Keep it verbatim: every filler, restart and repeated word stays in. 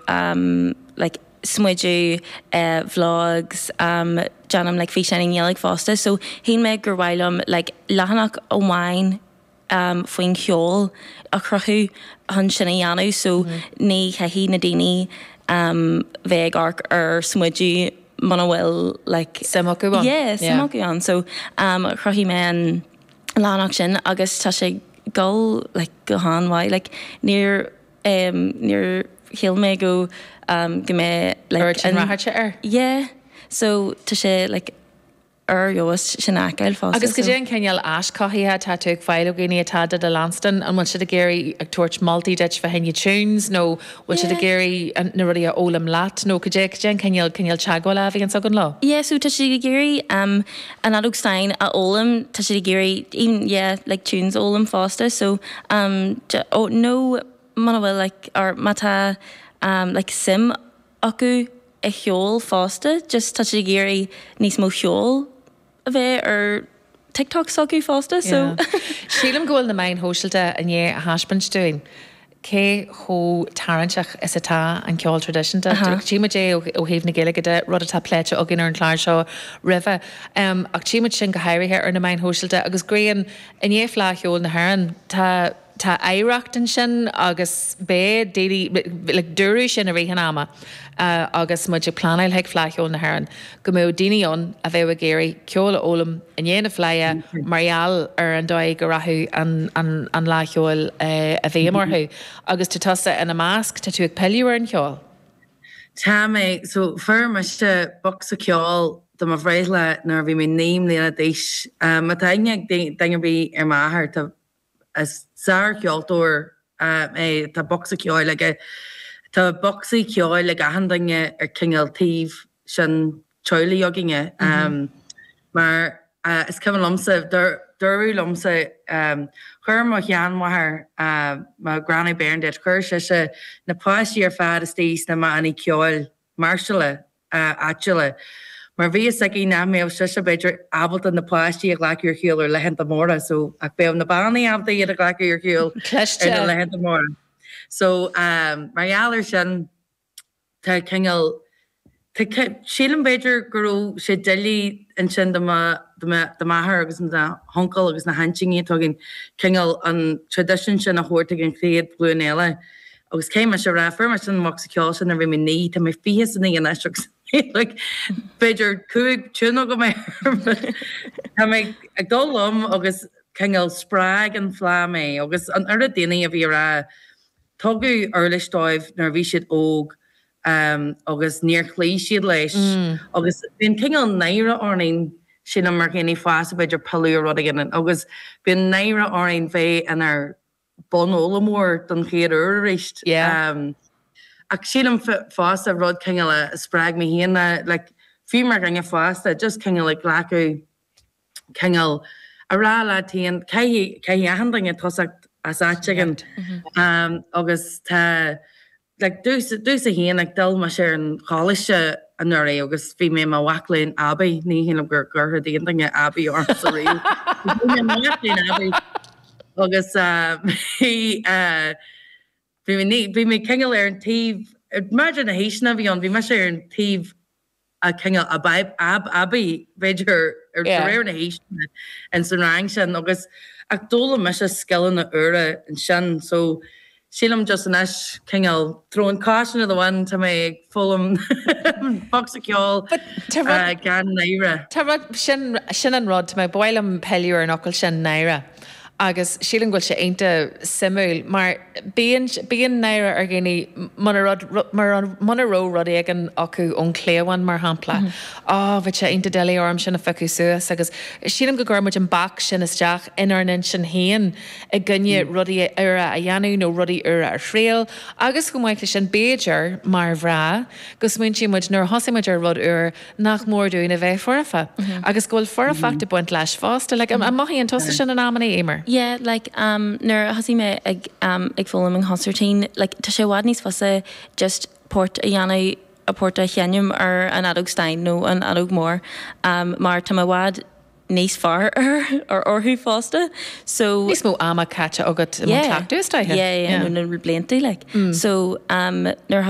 um, like smideadh uh, vlogs um, déanaim like físeáin i nGaeilge fosta so shíl mé gur mhaith liom like leathanach amháin um, faoin cheol a chruthú chun sin a dhéanamh so mm -hmm. ní chaithfidh na daoine um, bheith ag amharc ar smideadh muna bhfuil like Suim acu ann. Yeah, Yeah. suim acu ann so um, chruthaigh mé an leathanach sin agus tá sé go like go han-mhaith like níor um, níor shíl mé go um, go mbeidh like sin rath air. Yeah, so tá sé like ar fheabhas sin fheiceáil fosta. Agus goidé an cineál aischothaithe atá tú ag fáil ó dhaoine atá do do leanstan an bhfuil siad ag iarraidh ag tabhairt moltaí duit fá choinne tunes nó bhfuil siad ag iarraidh na rudaí a fhoghlaim leat nó goidé goidé an cineál cineál teagmhála a bhíonn againn leo. Yeah, so tá siad ag iarraidh um, an fheadóg stáin a fhoghlaim tá siad ag iarraidh even yeah, like tunes a fhoghlaim fosta so um, oh, no muna bhfuil like or má tá um, like suim acu i cheol fosta just tá siad ag iarraidh níos mó ceol a bheith ar TikTok s'acu fosta so Yeah. Sílim go bhfuil na meáin shóisialta i ndiaidh a thaispeáint dúinn. Cé chomh tarraingteach is atá an ceol traidisiúnta. Tchímid é ó thaobh na Gaeilge de rud atá pléite againn ar an chlár seo roimhe. Um, ach tchímid sin go háirithe ar na meáin shóisialta agus Grian i ndiaidh Fleadh Cheoil na hÉireann tá tá oidhreacht ansin agus beidh daoine like, dúradh sin i rith an ama uh, agus muid ag pleanáil chuig Fleadh Cheoil na hÉireann go mbeadh daoine ann a bheadh ag iarraidh ceol a fhoghlaim i ndiaidh na Fleidhe mar gheall ar an dóigh go rachadh an, an, an Fhleadh Cheoil uh, a bhí orthu agus tá tusa ina measc tá tú ag pilleadh ar an cheol. Tá mé so fuair mise bocsa ceoil do mo bhreithlá nuair a bhí mé naoi mbliana d'aois. Má tá aithne ag duine ar bith ar m'athair tá is sárcheoltóir é tá bocsa ceoil aige Tá bocsaí ceoil ag achan duine ar cineál taobh sin teaghlaigh againne. Um, mar uh, is cuimhin liomsa dúradh liomsa um, chuir mo sheanmháthair uh, mo Granny Bernadette chuir sise na páistí ar fad istigh sna bannaí ceoil máirseála uh, áitiúla. Mar bhí a fhios aici nach mbeadh sise b'fhéidir ábalta na páistí a ghlacadh ar shiúl ar laethanta móra, so ach bheadh na bannaí ábalta iad a ghlacadh ar shiúl ar na laethanta móra. So um, mar gheall air sin tá cineál sílim b'fhéidir go raibh sé doiligh ansin do m'athair agus na huncail agus na haintíní tugann cineál an tradition sin a thabhairt ag an chéad ghlúin eile. Agus cé mar se rá fuair mise an bocsa ceoil sin a bhí mé naoi tá mé fiche a naoi anois agus like, b'fhéidir cúig tune agam mé Tá mé ag dul liom agus cineál spreag an Fhleadh mé agus an oiread daoine a bhí rá tugadh uirlis dóibh nuair a bhí siad óg um, agus níor chloígh siad leis mm. agus bíonn cineál náire orainn sin mar dhaoine fásta b'fhéidir pilleadh ar rud éigin agus bíonn náire orainn bheith inár bunfhoghlaimeoir don chéad uair arís. Yeah. Um, ach sílim fosta rud cineál a spreag mé féin like, fiú mar dhuine fásta just cineál ag glacadh cineál a rá leat féin caithfidh achan duine tosacht as áit éigin um, agus tá like, domsa féin ag dul mar ar an choláiste anuraidh agus bhí mé mar mhac léinn aibí ní hin gur gur aon duine aibí orm sa riamh. Aibí agus bhí bhí mé cineál ar an taobh maidir na haoiseanna bhí ann bhí mise ar an taobh a cineál ab ab aibí b'fhéidir ar réir na haoiseanna in san rang sin agus ach d'fhoghlaim mise scileanna úra ansin so sílim just anois cineál throwing caution to the wind tá mé ag foghlaim bocsa ceoil gan náire. Tá rud sin sin an rud mé bhfuilim pilleadh ar an fhocal sin náire. Agus sílim go bhfuil sé iontach suimiúil mar bíonn bíonn náire ar dhaoine muna rud muna raibh rud éigin acu ón chliabhán mar shampla. Á bhí sé iontach doiligh orm sin a phiocadh suas agus sílim go gcuirimid an bac sin isteach inár n-intinn féin i gcoinne rudaí úra a dhéanamh nó rudaí úra a thriail agus go maith leis sin b'fhéidir mar mhná go smaointíonn muid nuair a thosaigh muid ar rud úr nach mór dúinn a bheith foirfe agus go bhfuil foirfeacht ag baint leis fosta like, an mothaíonn tusa sin in amanna Emer. Yeah, like um, nuair a thosaigh mé ag um, ag foghlaim an consairtín, like, tá sé i bhfad níos fusa just port a dhéanamh a port a sheinm ar an fheadóg stáin nó an fheadóg mhór um, mar tá i bhfad níos fearr ar orthu fosta so Níos mó ama caite agat yeah. yeah, yeah, yeah. na blianta like mm. so um, nuair